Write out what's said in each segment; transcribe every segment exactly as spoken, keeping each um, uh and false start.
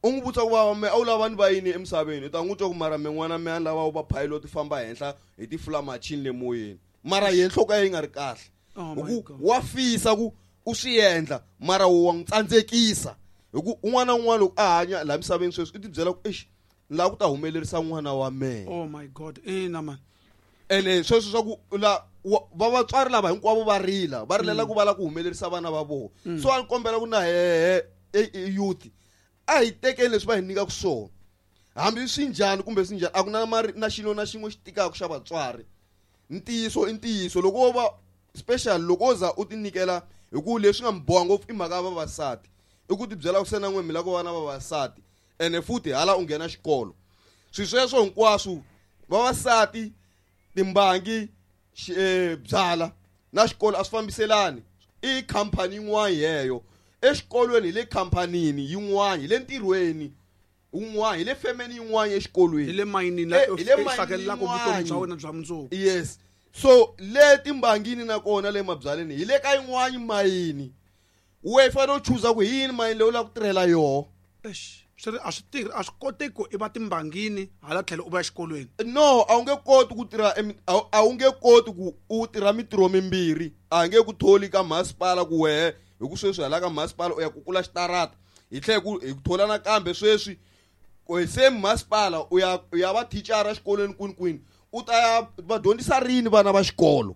U n'wi vutisa ku va me a wu lava ni va yini emisaveni u ta n'wi twa ku mara me n'wana me a ni lava u va pilot famba henhla hi tifula machini le moyeni mara ye nhloko ya yi nga ri kahle. Oh hi my ku God. wa fisa ku u swi endla mara wo wa n'wi tsandzekisa hi ku un'wana na un'wana loko a hanya laha misaveni sweswi u tibyela ku exi ni lava ku ta humelerisa n'wana wa mehe. Oh my God, ina man. Ene sweswo swa ku la wa- va vatswari lava hinkwavo va rila va rilela ku va lava ku humelerisa vana va vona. So a ni kombela ku na hehe e- e- youth a hi tekeni leswi va hi nyikaka swona hambi swi njhani kumbe swi njhani a ku na mari na xilo na xin'we xi tikaka xa vatswari. Ntiyiso i ntiyiso loko wo va special loko wo za u ti nyikela hi ku leswi nga mi boha ngopfu i mhaka ya vavasati i ku tibyela ku se na n'we mi lava ku va na vavasati ene futhi hala u nghena xikolo swi sweswo hinkwaswo vavasati timbangi xi- eh, byala na xikolo a swi fambiselani i khampani yin'wana yeyo exikolweni hi le khamphanini yin'wana hi le ntirhweni wun'wana hi le femeni yin'wana exikolweni hi le mayinini la Eh, hi le u hlakelelaka vutomi bya mayinini. wena bya mundzuku. Yes, so le timbangini nakona le mabyaleni hi le ka yin'wani mayini we fanele u chuza ku hi yini mayini leyi u lava ku tirhela yoho. Eish, swi ri a swi tirhi a swi koteki ku i va timbangini hala tlhelo u va exikolweni. No, a wu nge koti ku tirha emi- a wu- a wu nge koti ku u tirha mitirho mimbirhi a nge ku tholi ka masipala ku wehe hi ku sweswi hala ka masipala u ya kukula xitarata hi tlhela ku hi ku thola nakambe sweswi ku hi same masipala u ya u ya va thicara exikolweni kwini kwini u ta ya va dyondzisa rini vana va xikolo.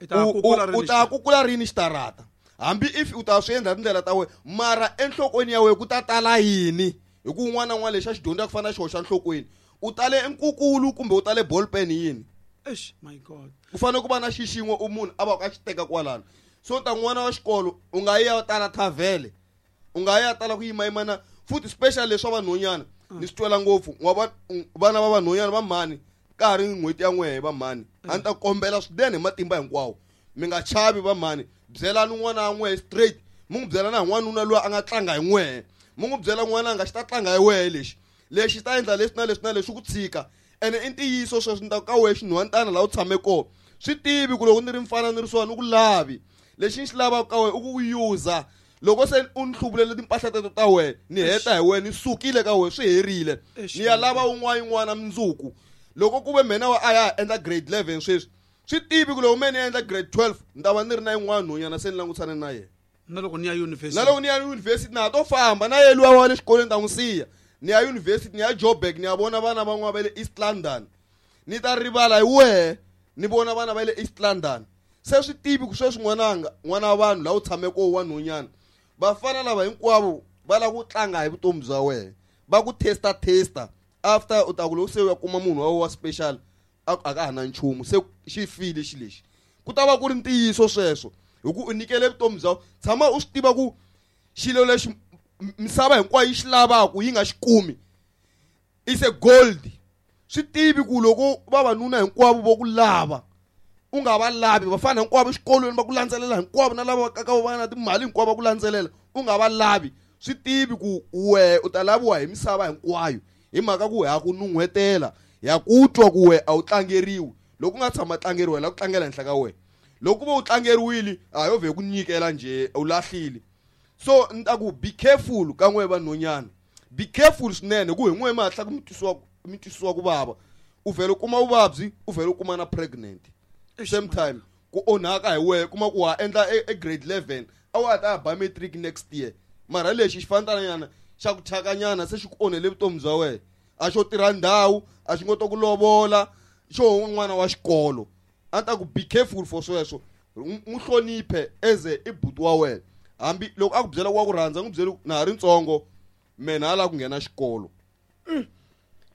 I ta U- kukula u- rini u ta kukula rini xitarata hambi if u ta swi endla tindlela ta wena mara enhlokweni ya wena ku ta tala yini hi ku un'wana na un'wana lexi a xi dyondzaka ku fana na xi hoxa enhlokweni u tale nkukulu kumbe u tale ballpen yini. Eish, my God. Ku fanele ku va na xi xin'we u munhu a va a xi teka kwalano so ta n'wana wa xikolo u nga yi ya tala thavhele u nga yi ya tala ku yimayimana futhi special leswa vanhonyana ni swi twela ngopfu wa va vana va vanhonyana va mhani ka ha ri n'hweti ya n'wehe va mhani a ni ta kombela swinene hi matimba hinkwawo mi nga chavi va mhani byelani n'wana wa n'wehe straight mi n'wi byela na hi n'wanuna loyi a nga tlanga hi n'wehe mi n'wi byela n'wana a nga xi ta tlanga hi wehe lexi lexi ta endla leswi na leswi na leswi ku tshika ene i ntiyiso sweswi ni ta ka wehe xinhwantana laha u tshame kona swi tivi ku loko ni ri mfana ni ri swona ni ku lavi lexi ni xi lavaka ka wena i ku user loko se u ni hluvulele timpahla teto ta wena ni heta hi wena ni sukile ka wena swi herile Eish, ni ya lava un'wana yin'wana mundzuku loko ku ve mina wa a ya ha endla grade eleven sweswi swi tivi ku loko me ni ya endla grade twelve ni ta va ni ri na yin'wana nhonyana se ni langutisane na yena. Na loko ni ya university. Na loko ni ya yunivhesiti na ha to famba na ye luya wa le xikolweni ta n'wi siya ni ya yunivhesiti ni ya Joburg ni ya vona vana van'wana va le East London ni ta rivala hi wehe ni vona vana va le East London se swi tivi ku sweswi n'wananga n'wana wa vanhu laha u tshameke wa nhonyana vafana lava hinkwavo va lava ku tlanga hi vutomi bya wena va ku testa testa after u ta ku loko se u ya kuma munhu wa wena wa special a a ka ha na nchumu se xi file xi lexi ku ta va ku ri ntiyiso sweswo hi ku u nyikele vutomi bya tshama u swi tiva ku xilo lexi m- misava hinkwayo yi xi lavaka yi nga xi kumi is a gold swi tivi ku loko vavanuna hinkwavo vo ku lava u nga va lavi vafana hinkwavo exikolweni va ku landzelela hinkwavo na lava va kaka va na timali hinkwavo va ku landzelela u nga va lavi swi tivi ku wehe u ta laviwa hi misava hinkwayo hi mhaka ku ha ku nun'hwetela ya ku twa ku wehe a wu tlangeriwi loko u nga tshama tlangeriwa hi la ku tlangela henhla ka wena loko ku ve u tlangeriwile a yo vhe ku nyikela njhe u lahlile. So ni ta ku be careful ka n'we vanhonyana be careful swinene ku hi n'we mi hatla ku mi twisiwa mi twisiwa ku vava u vhele u kuma vuvabyi u vhele u kuma na pregnant Eish, same time ku onhaka hi wehe kuma ku wa endla e, e grade eleven a wa ha ta ya ba matric next year mara lexi xi fanelanyana xa ku thyakanyana se xi ku onhele vutomi bya wena a xo tirha ndhawu a xi ngo to ku lovola xo n'wana wa xikolo a ni ta ku be careful for sweswo n'wi hloniphe as a i buti wa wena hambi loko a ku byela ku wa ku rhandza n'wi byeli ku na ha ri ntsongo mina ha lava ku nghena xikolo.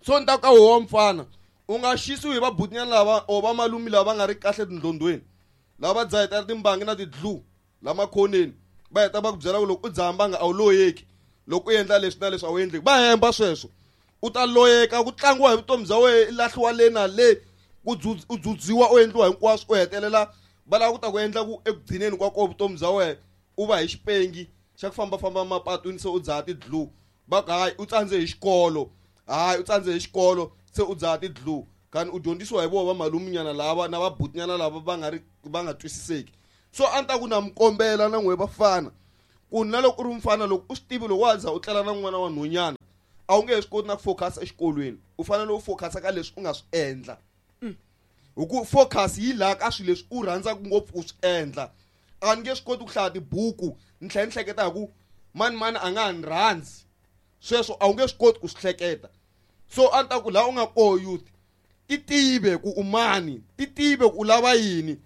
So ni ta ku ka woho wa mfana u nga xisiwi hi vabutinyana lava or vamalumi lava va nga ri kahle tindlondweni lava va dzahetela timbangi na ti-glue la makhoneni va heta va ku byela ku loko u dzaha mbanga a wu loyeki loko u endla leswi na leswi a wu endleki va hemba sweswo u ta loyeka ku tlangiwa hi vutomi bya wena i lahliwa le na le ku dzudz- u dzudziwa u endliwa hinkwaswo u hetelela va lava ku ta ku endla ku ekugcineni kwa koho vutomi bya wena u va hi xipengi xa ku fambafamba mapatwini se u dzaha ti-glue va ku hayi u tsandze hi xikolo hayi u tsandze hi xikolo se u dzaha ti-glue kani u dyondzisiwa hi voho vamaluminyana lava na vabutinyana lava va nga ri va nga twisiseki. So a ni ta ku na mi kombela na n'we vafana ku na loko u ri mfana loko u swi tivi loko wa za u tlela na n'wana wa nhonyana A wu nge swi koti na ku focus exikolweni. U fanele u focus ka leswi u nga swi endla. Hi ku focus yi laha ka swilo leswi u rhandzaka ngopfu ku swi endla. A ni nge swi koti ku hlaya tibuku ni tlhela ni hleketa hi ku mani mani a nga ha ni rhandzi. Sweswo a wu nge swi koti ku swi hleketa. So a ni ta ku laha u nga koho youth, ti tive ku u mani, ti tive ku u lava yini.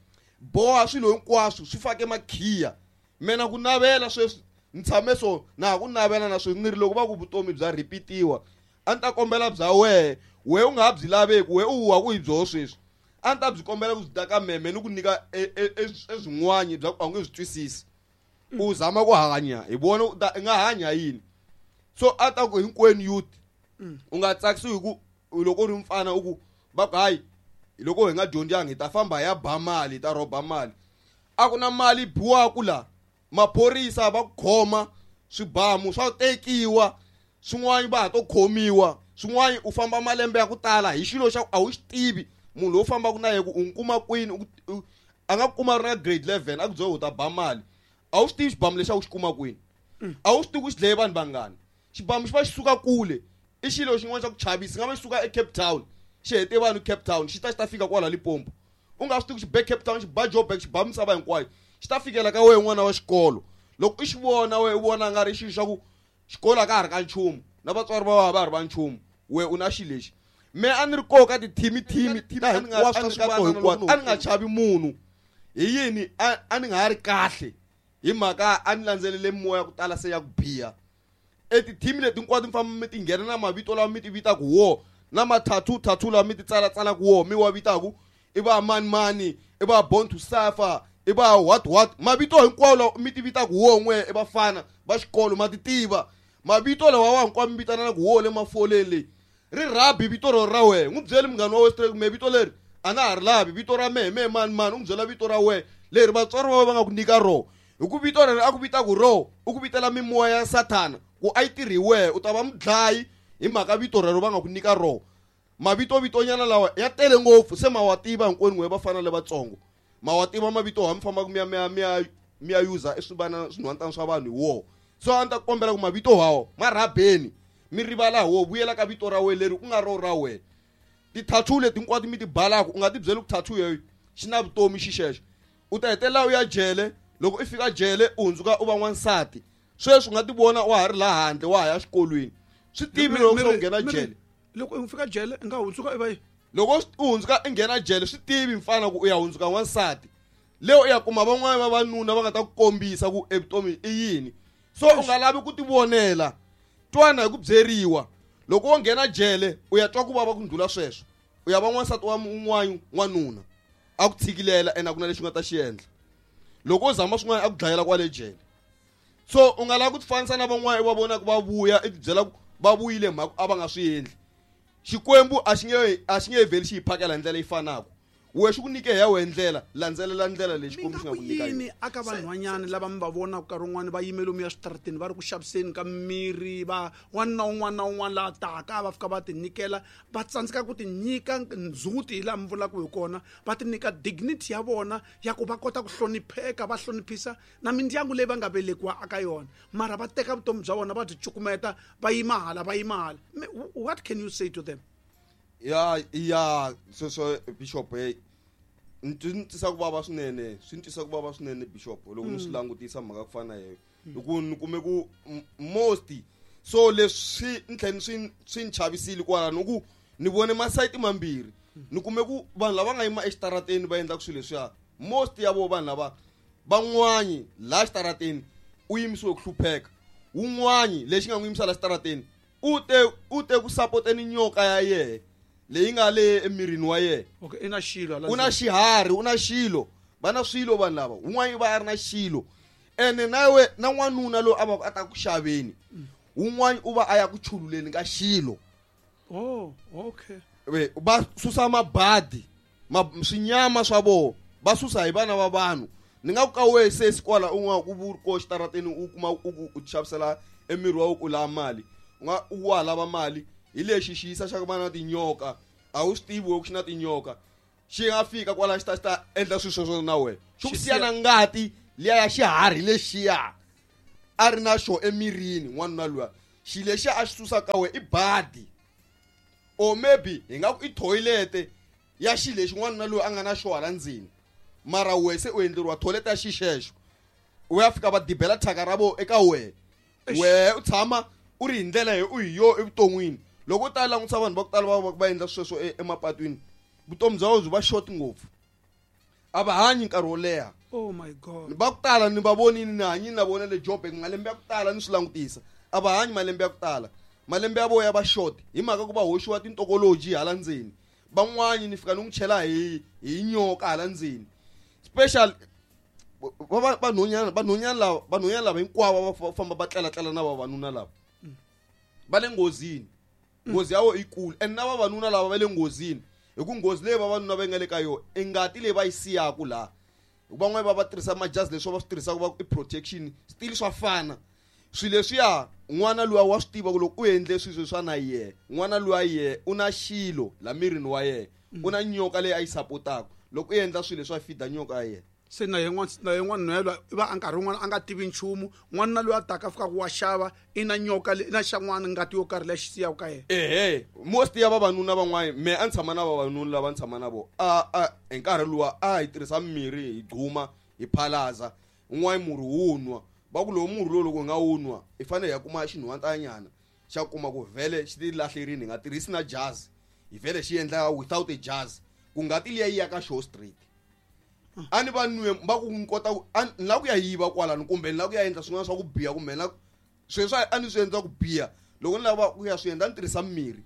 Boha swilo hinkwaswo swi fake makhiya. Mina ku navela sweswi ni tshame so na ha ku navela na sweswi ni ri loko va ku vutomi bya repeat-iwa a ni ta kombela bya wehe, wehe u nga ha byi laveki, wehe u huha ku hi byoho sweswi. A ni ta byi kombela ku byi ta ka meme ni ku nyika eswin'wana bya ku a wu nge swi twisisi. U zama ku hanya hi vona u ta i nga hanya yini. So a ta ku hinkwenu youth u nga tsakisiwi hi ku loko u ri mfana u ku va ku hayi loko hi nga dyondzanga hi ta famba hi ya ba mali, hi ta rhoba mali. A ku na mali biwaku la, maphorisa va ku khoma, swibamu swa tekiwa, swin'wana va ha to khomiwa, swin'wana u famba malembe ya ku tala hi xilo xa ku a wu xi tivi. Munhu lowu fambaka na yena ku u n'wi kuma kwini, a nga ku kuma ri na grade eleven a ku byela u ta ba mali. A wu xi tivi xibamu lexi a wu xi kuma kwini. A wu swi tivi ku xi dlaye vanhu vangani. Xibamu xi va xi suka kule, i xilo xin'wana xa ku chavisa, xi nga va xi suka eCape Town, xi hete vanhu Cape Town, xi ta xi ta fika kwala Limpopo. U nga swi tivi ku xi be Cape Town, xi ba Joburg, xi ba misava hinkwayo. Xi ta fikela ka wena n'wana wa xikolo. Loko u xi vona wena u vona nga ri xilo xa ku xikolo a ka ha ri ka nchumu, na vatswari va va ha ri va nchumu, wena u na xilo lexi. Me a ni ri koho ka ti-team-team ta hinkwaswo ta swivanana hinkwaswo, a ni nga chavi munhu. Hi yini a, a ni nga ha ri kahle hi mhaka a ni landzelele mimoya ya ku tala se ya ku biha. E ti-team leti hinkwato mi famba mi ti nghena na mavito lawa mi ti vitaka wo, na ma-tattoo, tattoo lawa mi ti tsalatsalaka wo, mi wa vitaka i va mani mani, i va born to suffer, i va what what. Mavito hinkwawo lawa mi ti vitaka wo n'we i vafana va xikolo ma ti tiva. Mavito lawa wa hinkwawo mi vitanaka wo le mafoleni leyi. Ri rhabi vito ro ra wena. N'wi byeli munghana wa wena straight, me vito leri a na ha ri lavi, vito ra mehe mehe mani mani, u n'wi byela vito ra wena leri vatswari va wena va nga ku nyika rona. Hi ku vito leri a ku vitaka rona, u ku vitela mimoya ya Sathana ku a yi tirhi hi wena, u ta va mudlayi hi mhaka vito rero va nga ku nyika rona. Mavito vitonyana lawa ya tele ngopfu, se ma wa tiva hinkwenu n'we vafana lavatsongo. Ma wa tiva mavito ha mi fambaka mi ya, mi ya, mi ya, mi ya user i swivana swinhwantana swa vanhu hi wona. So a ni ta kombela ku mavito hawo ma rhabeni, mi rivala hi wona, vuyela ka vito ra wena leri ku nga ro ra wena. Ti-tattoo leti hinkwato mi ti balaka, u nga ti byeli ku tattoo yoyo xi na vutomi xi xexo. U ta hetelela u ya jele, loko i fika jele u hundzuka u va n'wansati. Sweswi u nga ti vona wa ha ri laha handle wa ha ya xikolweni. Swi tivi loko se u nghena jele. Loko u fika jele u nga hundzuka i va yini? Loko u hundzuka i nghena jele swi tivi mfana ku u ya hundzuka n'wansati. Leo u ya kuma van'wana vavanuna va nga ta ku kombisa ku evutomi i yini. So u nga lavi ku ti vonela. Twana hi ku byeriwa. Loko wo nghena jele u ya twa ku vava ku ndlula sweswo. U ya va n'wansati wa un'wana n'wanuna. A ku tshikilela ene a ku na lexi u nga ta xi endla. Loko u zama swin'wana a ku dlayela kwale jele. So u nga lavi ku tifanisa na van'wana i va vonaka va vuya i tibyela ku va vuyile hi mhaka a va nga swi endli. Xikwembu a xi nge, a xi nge vheli xi hi phakela hi ndlela leyi fanaka. Wehe xi ku nyike hi ya wena ndlela, landzelela ndlela leyi Xikwembu xi nga ku nyika yini yona. Aka vanhwanyana lava mi va vonaka nkarhi wun'wani va yime lomuya switarateni va ri ku xaviseni ka mirhi, va wanuna na un'wana na un'wana laha taka va fika va ti nyikela, va tsandzeka ku ti nyika ndzhuti hi laha mi vulaka hi kona, va ti nyika dignity ya vona ya ku va kota ku hlonipheka, va hloniphisa na mindyangu leyi va nga velekiwa aka yona, mara va teka vutomi bya vona va byi cukumeta, va yima hala, va yima hala. What can you say to them? Ya, ya, sweswo Bishop, hey, ni twi ni twisa ku vava swinene, swi ni twisa ku vava swinene Bishop, loko ni swi Mm. langutisa mhaka ku fana na yena. Hi ku ni kume ku m-, most, so leswi ni tlhela swi, swi ni chavisile kwalano, hi ku ni vone masayiti mambirhi. Ni kume ku vanhu lava nga yima exitarateni va endlaka swilo leswiya, most ya vo vanhu lava van'wani laha xitarateni u yimisiwe ku hlupheka, wun'wani lexi nga n'wi yimisa laha xitarateni u te, u te ku sapoteni nyoka ya yehe leyi nga le emirini wa yena. Okay, i na xilo hala U na ndzeni. xiharhi, u na xilo. Va na swilo vanhu lava. Wun'wani va a ri na xilo. Ene na we, na n'wanuna loyi a va ku a ta ku xaveni, wun'wani u va a ya ku chululeni ka xilo. Oh, okay. We, va susa mabadi, ma-, swinyama swa vona, va susa hi vana va vanhu. Ni nga ku ka wehe sesi kwala u nga ku vuri ko xitarateni u kuma u ku u xavisela emiri wa ku lava mali. U nga u wa lava mali hi lexi xiyisa xa ku va na tinyoka. A wu swi tivi ku xi na tinyoka. Xi nga fika kwala xi ta xi ta endla swilo sweswo na wena. Xi ku Xi siya siya na ngati liya ya xiharhi lexiya a ri na xo emirini n'wanuna luya. Xilo lexi a xi susaka ka wena i badi or maybe hi nga ku i toilet ya xilo lexi n'wanuna loyi a nga na xo hala ndzeni mara wehe se u endleriwa toilet ya xixexo u ya fika va dibela thyaka ra vo eka wehe wehe u tshama u ri hi ndlela hi u hi yo evuton'wini loko u ta langutisa vanhu va ku tala va va endla sweswo emapatwini vutomi bya vona byi va short ngopfu a va hanyi nkarhi wo leha. Oh my god. Va ku tala ni va vonini ni hanyini na vona le Joburg malembe ya ku tala ni swi langutisa a va hanyi malembe ya ku tala malembe ya vona ya va short hi mhaka ku va hoxiwa tintokoloji hala ndzeni van'wani ni fika ni n'wi chela hi hi nyoka hala ndzeni special va vanhwanyana vanhwanyana lava vanhwanyana lava hinkwavo va famba va tlalatlela na vavanuna lava va le nghozini nghozi ya vona i kulu and na vavanuna lava va le nghozini hi ku nghozi leyi vavanuna va nga le ka yona i ngati leyi va yi siyaku laha van'wani va va tirhisa majazi leswi va swi tirhisaka va i protection still swa fana swilo leswiya n'wana luya wa swi tiva ku loko u endle swilo swa na yehe n'wana luya yehe u na xilo la mirini wa yena u na nyoka leyi a yi sapotaka loko u endla swilo leswi a fida nyoka ya yena se na yin'wana na yin'wana nhwelo va a nkarhi wun'wana a nga tivi nchumu n'wanuna loyi a taka fika ku wa xava i na nyoka i na xan'wana ngati yo karhi leyi xi siyaka ka yena. Ehe most ya vavanuna van'wana me a ni tshama na vavanuna lava ni tshama na vona a a hi nkarhi luwa a hi tirhisa mirhi hi gquma hi phalaza un'wana murhi wu nwa va ku lowu murhi lowu loko hi nga wu nwa hi fanele hi ya kuma xinhwantanyana xa kuma ku vhele xi ti lahlerini hi nga tirhisi na jazi hi vhele xi endla without a jazi ku ngati liya yi ya ka xo straight a ni va nwe va ku ni kota a ni lava ku ya yiva kwalano kumbe ni lava ku ya endla swin'wana swa ku biha kumbe na sweswi a ni swi endla ku biha loko ni lava ku ya swi endla ni tirhisa mirhi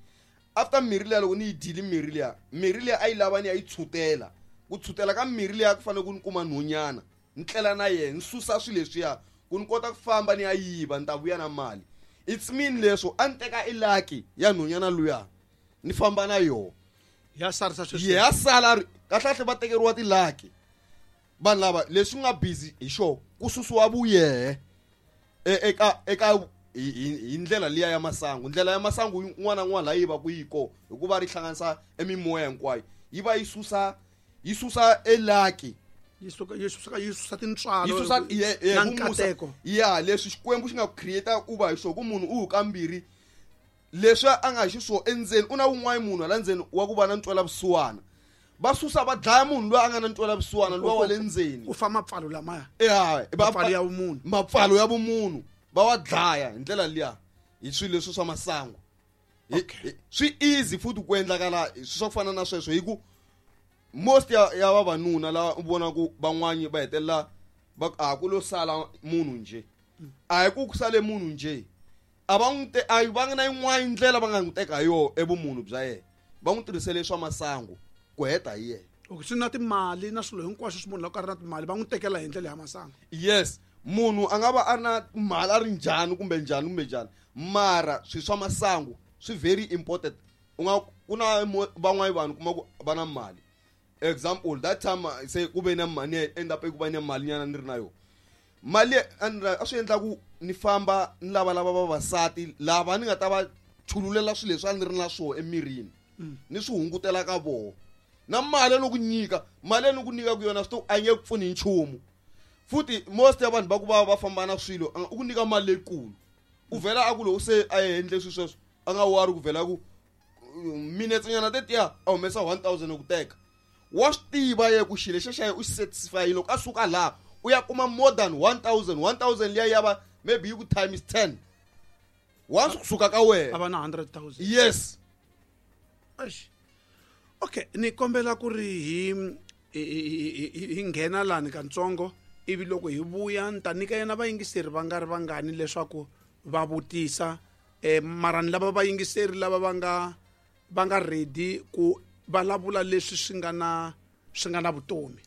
after mirhi liya loko ni yi dyile mirhi liya mirhi liya a yi lava ni ya yi tshutela ku tshutela ka mirhi liya ku fanele ku ni kuma nhwanyana ni tlela na yena ni susa swilo leswiya ku ni kota ku famba ni ya yiva ni ta vuya na mali it's mean leswo a ni teka ilaki ya nhwanyana luya ni famba na yona ya sarisa sweswi ya sala kahlekahle va tekeriwa tilaki vanhu lava leswi nga busy hi xo ku susiwa vuyehe eka eka hi ndlela liya ya masangu ndlela ya masangu yin'wana na yin'wana laha yi va ku yi kona hikuva ri hlanganisa emimoya hinkwayo yi va yi susa yi susa elaki yi suka yi susa yi susa tintswalo yi susa na nkateko ya leswi Xikwembu xi nga ku create u va hi xo ku munhu u kambirhi leswi a nga xiswo endzeni u na wun'wana munhu hala ndzeni wa ku va na ntwela vusiwana va susa va dlaya munhu loyi a nga na ntwela vusiwana luwa wa le ndzeni ku fa mapfalo lamaya ya mapfalo ya vumunhu mapfalo ya vumunhu va wa dlaya hi ndlela liya hi swilo leswi swa masangu swi easy futhi ku endlakala swa ku fana na sweswo hi ku most ya ya vavanuna lava u vona ku van'wani va hetelela va a ku lo sala munhu nje a hi ku ku sale munhu nje a va n'wi te a va nga na yin'wana ndlela va nga n'wi teka hi yona evumunhu bya yena va n'wi tirhisele swa masangu ku heta hi yena. Okay swi na timali na swilo hinkwaswo swi munhu loko a ri na timali va n'wi tekela hi ndlela ya masangu. Yes munhu a nga va a ri na mali a ri njhani kumbe njhani kumbe njhani mara swilo swa masangu swi very important u nga ku na van'wana vanhu kuma ku va na mali example that time se ku ve na mali end up ku va na mali nyana ni ri na yona mali a swi endla ku ni famba ni lavalava vavasati lava ni nga ta va chululela swilo leswi a ni ri na swona emirini ni swi hungutela ka vona na mali ni ku nyika mali ni ku nyika ku yona swi a nge pfuni nchumu futhi most ya vanhu va ku va va famba na swilo u ku nyika mali leyikulu u vhela a ku loko se a endle swilo sweswo a nga wari ku vhela ku minutes nyana tetiya a humesa one thousand ku teka wa swi tiva ye ku xilo xexo u xi satisfy loko a suka laha u ya kuma more than one thousand one thousand liya ya va maybe yi ku times ten once kusuka ka wena a va na hundred thousand. Yes. Eish. Okay ni kombela ku ri hi hi nghena lani kantsongo ivi loko hi vuya ni ta nyika yena vayingiseri va nga ri vangani leswaku va vutisa eh mara ni lava vayingiseri lava va nga va nga ready ku vulavula leswi swi nga na swi nga na vutomi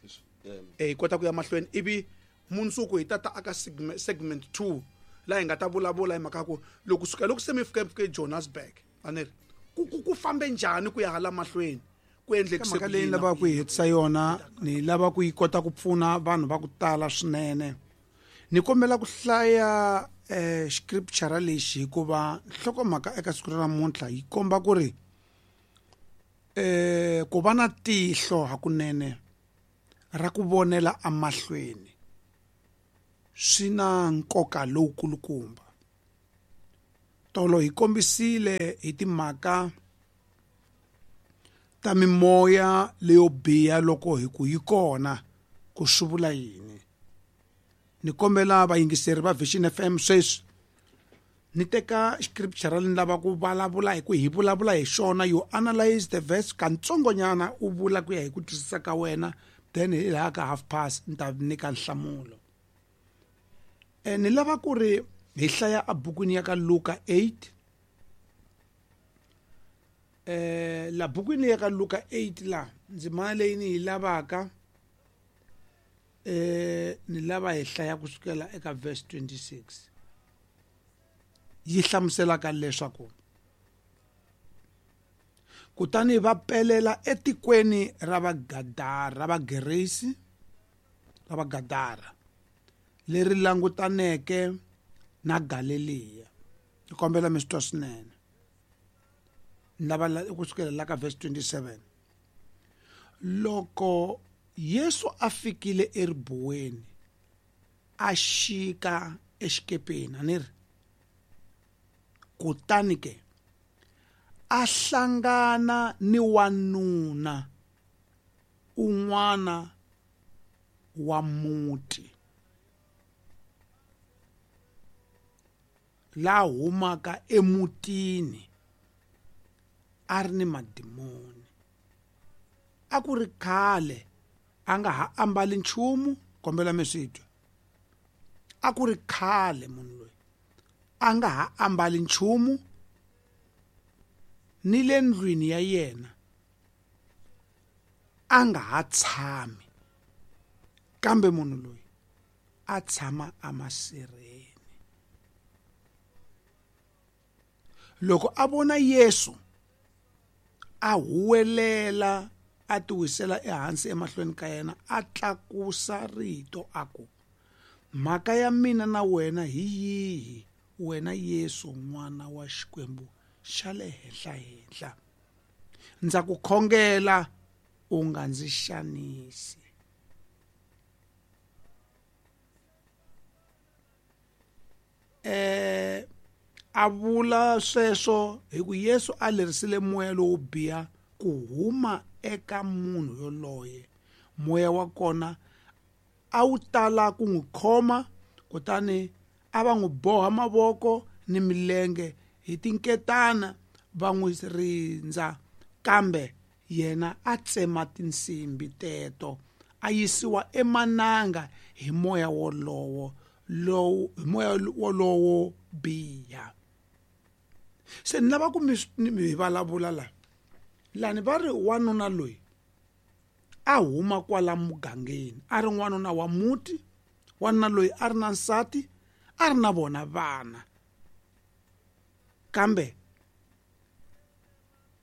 eh hi kota ku ya mahlweni ivi mundzuku hi tata aka segment two laha hi nga ta vulavula hi mhaka ku loko suka loko se mi fika fika eJohannesburg a ni ri ku ku fambe njhani ku ya hala mahlweni ku endlekise mhaka leyi lava ku yi hetisa yona ni lava ku yi kota ku pfuna vanhu va ku tala swinene ni kombela ku hlaya eh scripture lexi hikuva nhlokomhaka eka siku ra namuntlha yi komba ku ri eh ku va na tihlo hakunene ra ku vonela amahlweni swi na nkoka lowukulukumba. Tolo hi kombisile hi timhaka ta mimoya leyo biha loko hi ku yi kona ku swi vula yini. Ni kombela vayingiseri va Vision F M sweswi ni teka scripture ni lava ku vulavula hi ku hi vulavula hi xona, you analyze the verse kantsongonyana u vula ku ya hi ku twisisa ka wena, then hi laha ka half past ni ta nyika nhlamulo. E ni lava ku ri hi hlaya ebukwini ya ka Luka eight. Eh la bukwini ya ka Luka eight la ndzimana leyi ni yi lavaka eh ni lava hi hlaya kusukela eka verse twenty-six. Yi hlamuselaka leswaku kutani va pelela etikweni ra Vagadara, ra Vageresi, ra Vagadara leri langutaneke na Galeliya. Ni kombela mi swi twa swinene. Ni lava kusukela la ka verse twenty-seven. Loko Yesu a fikile eribuweni a xika exikepeni, a ni ri kutani ke a hlangana ni wanuna un'wana wa muti la humaka emutini a ri ni madimoni. A ku ri khale a nga ha ambali nchumu, kombela mi swi twa. A ku ri khale munhu loyi a nga ha ambali nchumu, ni le ndlwini ya yena a nga ha tshami, kambe munhu loyi a tshama emasirheni. Loko a vona Yesu a huwelela a tiwisela ehansi emahlweni ka yena, a tlakusa rito a ku, mhaka ya mina na wena hi yihi, wena Yesu n'wana wa Xikwembu xa le henhla-henhla? Ndza ku khongela u nga ndzi xanisi. Eh a vula sweswo hi ku Yesu a lerisile moya lowo biha ku huma eka munhu yoloye. Moya wa kona a wu tala ku n'wi khoma, kutani a va n'wi boha mavoko ni milenge hi tinketana va n'wi rindza, kambe yena a tsema tinsimbi teto a yisiwa emananga hi moya wolowo lowu hi moya wolowo biha. Se ni lava ku mi hi vulavula la lani va ri wanuna loyi a huma kwala mugangeni, a ri n'wanuna wa muti, wanuna loyi a ri na nsati, a ri na vona vana, kambe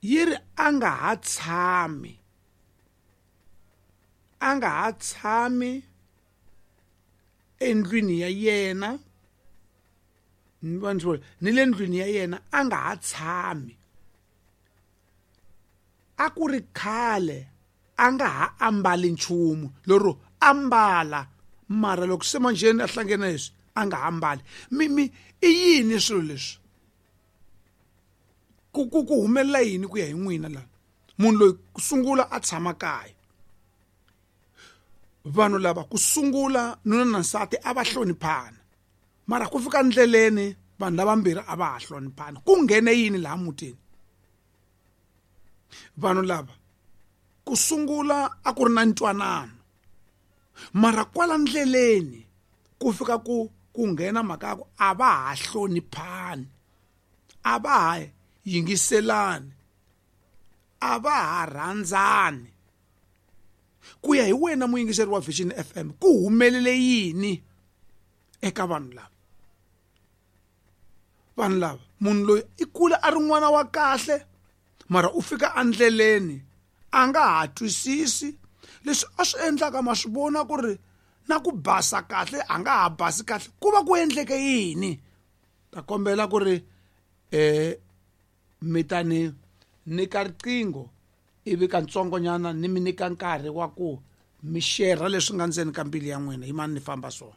yi ri a nga ha tshami, a nga ha tshami endlwini ya yena, ni le ndlwini ya yena a nga ha tshami. A ku ri khale a nga ha ambali nchumu, lero ambala mara loko se manjheni a hlangene leswi a nga ha ambali. Mi mi i yini swilo leswi? Ku ku ku humelela yini ku ya hi n'wina la? Munhu loyi ku sungula a tshama kaya, vanhu lava ku sungula nuna na nsati a va hloniphana, mara ku fika ndleleni vanhu lavambirhi a va ha hloniphana. Ku nghene yini laha mutini? Vanhu lava ku sungula a ku ri na ntwanano, mara kwala ndleleni ku fika ku ku nghena mhaka ya ku a va ha hloniphani, a va ha yingiselani, a va ha rhandzani. Ku ya hi wena muyingiseri wa Vision F M, ku humelele yini eka vanhu lava? Vanhu lava, munhu loyi i kule a ri n'wana wa kahle, mara u fika endleleni a nga ha twisisi leswi a swi endlaka. Ma swi vona ku ri na ku basa kahle a nga ha basi kahle, ku va ku endleke yini? Ta kombela ku ri eh mi ta ni nyika riqingho ivi kantsongonyana ni mi nyika nkarhi wa ku mi share leswi nga ndzeni ka mbilu ya n'wina. Yimani ni famba so.